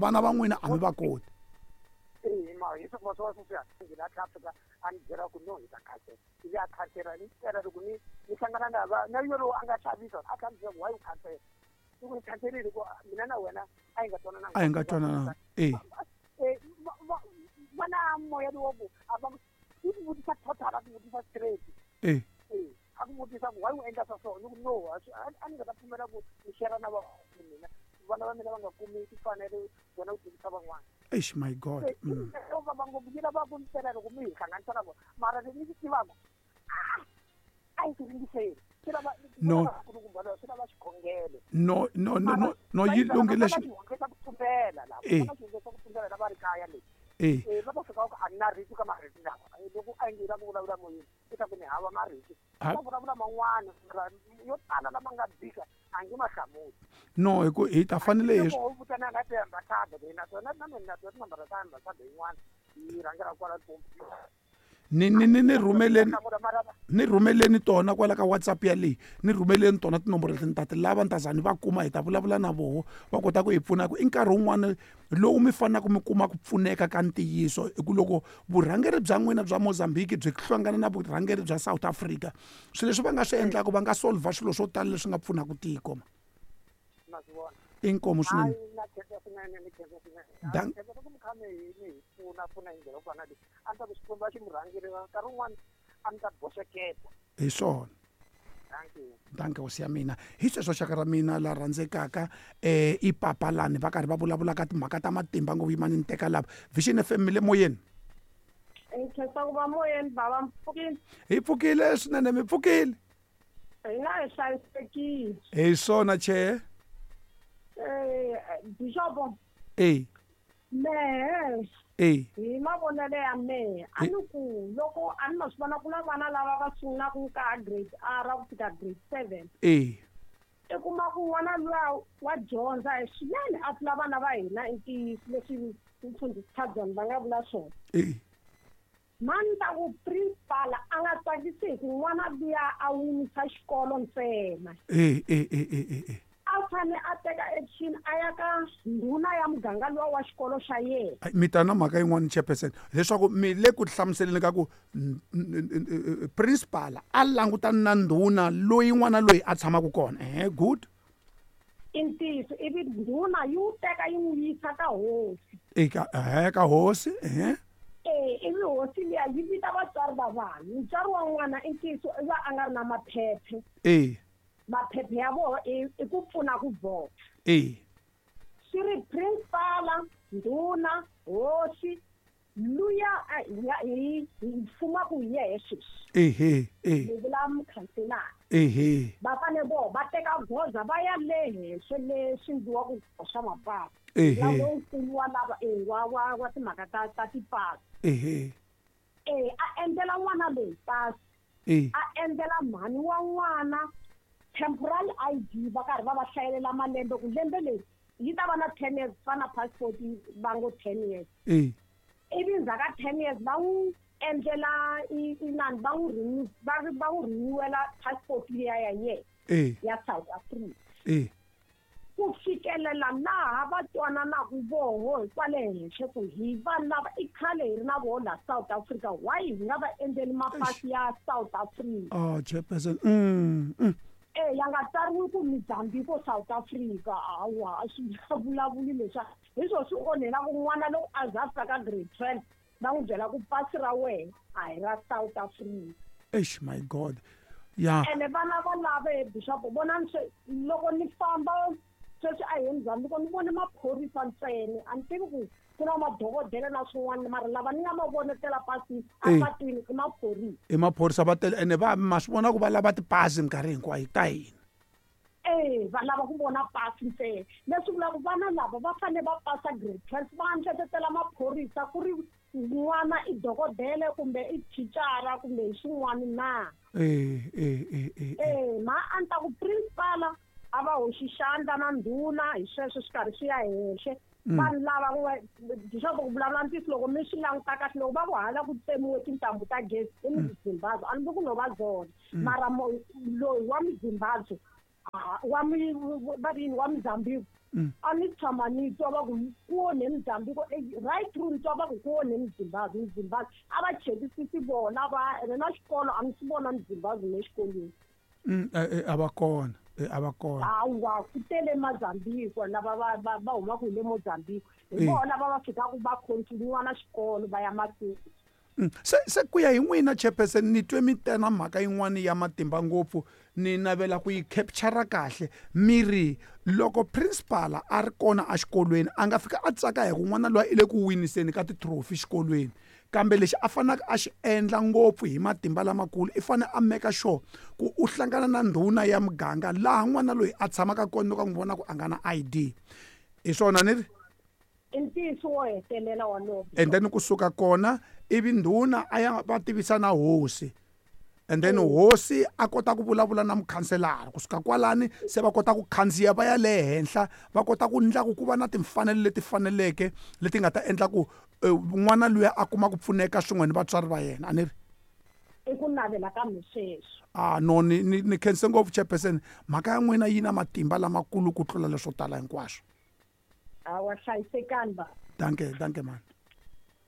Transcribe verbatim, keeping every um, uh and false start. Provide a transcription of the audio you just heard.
Vana va n'wina a mi va koti. Eh ma hi swa swa swa swa ngi la Afrika a ni byela ku no hi ta khansela ivi a khansela ni tela loko ni ni hlangana na va na yolo a nga xavisa a khansela why u khansela i ku ni khanselile ku mina na wena a hi nga twanana a hi nga twanana eh eh va na moya lowo ku a va i ku vutisa total a ku vutisa straight eh eh a ku vutisa ku why u endla swa so ni ku no a ni nga ta pfumela ku ni share na va mina vana va mina va nga kumi timfanelo vona u tivisa van'wana. Eish my god. Mm. Va va ngopfu yi lava ku ni tela loko mi hi hlanganisa na vona mara ni swi tivaka a yi ringiseli swi lava no swi lava xikhongelo no no no no no yi lunghile xi ku tumbela la va xi ku tumbela la va ri kaya le eh eh va ta fika ku a na rito ka marito lawa loko a ngi la ku vulavula moyeni i ta ku ni hava marito va vulavula man'wana yo tala lama nga bika a ngi ma hlamuli no hi ku hi ta fanele hi ku vutana na ti ambassador hina tona na mina tona tinambara ta ambassador yin'wana yi rhangela kwala Limpopo ni ni ni ni rhumeleni ni rhumeleni tona kwala ka WhatsApp ya leyi ni rhumeleni tona tinomboro leti ni ta ti lava ni ta za ni va kuma hi ta vulavula na voho va kota ku hi pfuna ku i nkarhi wun'wana lowu mi fanelaka mi kuma ku pfuneka ka ntiyiso hi ku loko vurhangeri bya n'wina bya Mozambique byi hlangana na vurhangeri bya South Africa swilo leswi va nga swi endlaka va nga solva swilo swo tala leswi nga pfunaka tiko inkomo swinene Dan hi swona danke hosi ya mina hi sweswo xaka ra mina la rhandzekaka eh i papalani va karhi va vulavula ka timhaka ta matimba ngopfu yimani ni teka lava Vision F M mi le moyeni hi pfukile swinene mi pfukile hi nga hi hlayisekile hi swona che eh bishop eh mehe eh hi mavonelo ya mehe a ni ku loko a ni ma swi vona ku na vana lava va sungulaka ka grade R ku fika grade seven eh i kuma ku n'wana luya wa dyondza hi swinene a tlula vana va hina i ntiyiso leswi mfundhisi Thadzani va nga vula swona eh mani ta ku principal a nga tsakisi hi ku n'wana luya a winisa xikolo ntsena eh eh eh eh eh a fane a teka action a ya ka ndhuna ya muganga luwa wa xikolo xa yena mi ta na mhaka yin'wana chairperson leswaku mi le ku hlamuseleni ka ku principal a langutana na ndhuna loyi n'wana loyi a tshamaka kona eh good i ntiyiso ivi ndhuna yi wu teka yi n'wi yisa ka hosi eka eh ka hosi eh eh ivi hosi liya yi vita vatswari va vanhu mutswari wa n'wana i ntiyiso i va a nga ri na maphephe eh maphephe ya vona i ku pfuna ku vhota eh swi ri principal ndhuna hosi luya hi fumaka hi yehe sweswi ehe eh ni vula mukhanselara ehe va fane voho va teka goza va ya le henhla leswi endliwaka ku swa mapasi ehe lonkulu wa lava e wa wa wa timhaka ta ta tipasi ehe eh a endlela n'wana loyi pasi eh a endlela mhani wa n'wana temporal I D va karhi va va hlayelela malembe ku lembe leri yi ta va na ten years fana passport va ngo ten years eh ivi ndzhaku ka ten years va n'wi endlela inani va n'wi renew va va n'wi renewela passport liya ya yena eh ya South Africa eh ku fikelela laha va twananaka voho hi kwale henhla ku hi vanhu lava i khale hi ri na voho la South Africa why hi nga va endleli mapasi ya South Africa oh chairperson mm, mm. eh ya nga tsariwi ku Mozambique South Africa hawa a swi vulavuli leswa hi swo swi onhela ku n'wana loko a za a fika ka grade twelve va n'wi byela ku pasi ra wena a hi ra South Africa eish my god ya ene vana va lava bishop vonani swe loko ni famba sweswi a hi Mozambique ni vone maphorisa ntsena a ni tivi ku ku na madokodela na swin'wana mara lava ni nga ma vonetela pasi apatwini i maphorisa i maphorisa va tele ene va ma swi vona ku va lava tipasi minkarhi hinkwayo ta hina eh va lava ku vona pasi ntsena leswi vulaka vana lava va fanele va pasa grade twelve va ndletetela maphorisa ku ri n'wana i dokodela kumbe i thicara kumbe hi swin'wana na eh eh eh eh eh ma a ni ta ku principal a va hoxi xandla na ndhuna hi sweswo swi karhi swi ya henhla vanhu lava bishop ku vulavula ntiyiso loko mi swi languta kahle loko va ku hala ku tsemiwe tintambu ta gezi i Muzimbabwe a ni vi ku no va zona mara loyi wa Muzimbabwe wa mi va ri yini wa Mozambique A ni tshama ni twa va ku ku onhe Mozambique, right through ni twa va ku ku onhe Mzimbabwe, Mzimbabwe a va chekisisi vona va ene na xikolo a ni swi vona Mzimbabwe ne xikolweni. A va kona, a va kona. Hawa ku tele Mozambique lava va va va humaka hi le Mozambique, hi vona lava va fikaka va continue na xikolo va ya mahlweni. Se se ku ya hi n'wina chairperson, ni twe mi tena mhaka yin'wana ya matimba ngopfu, ni navela ku yi capture kahle. Mi ri loko principal a ri kona exikolweni a nga fika a tsaka hi ku n'wana loyi i le ku winiseni ka ti-trophy xikolweni, kambe lexi a faneleke a xi endla ngopfu hi matimba lamakulu i fanele a make sure ku u hlangana na ndhuna ya muganga laha n'wana loyi a tshamaka kona loko a n'wi vona ku a nga na I D. Hi swona ni ri? I ntiyiso wo hetelela wolowo. And then kusuka kona ivi ndhuna a ya va tivisa na hosi, and then hosi a kota ku vulavula na mukhanselara. Kusuka kwalani se va kota ku khandziya va ya le henhla, va kota ku endla ku ku va na timfanelo leti faneleke leti nga ta endla ku n'wana luya a kuma ku pfuneka swin'we ni vatswari va yena. A ni ri? I ku navela ka mi sweswo. Ah no, ni ni ni khense ngopfu chairperson, mhaka ya n'wina yi na matimba lamakulu ku tlula leswo tala hinkwaswo. Hawa hlayisekani ba. Danke, danke man.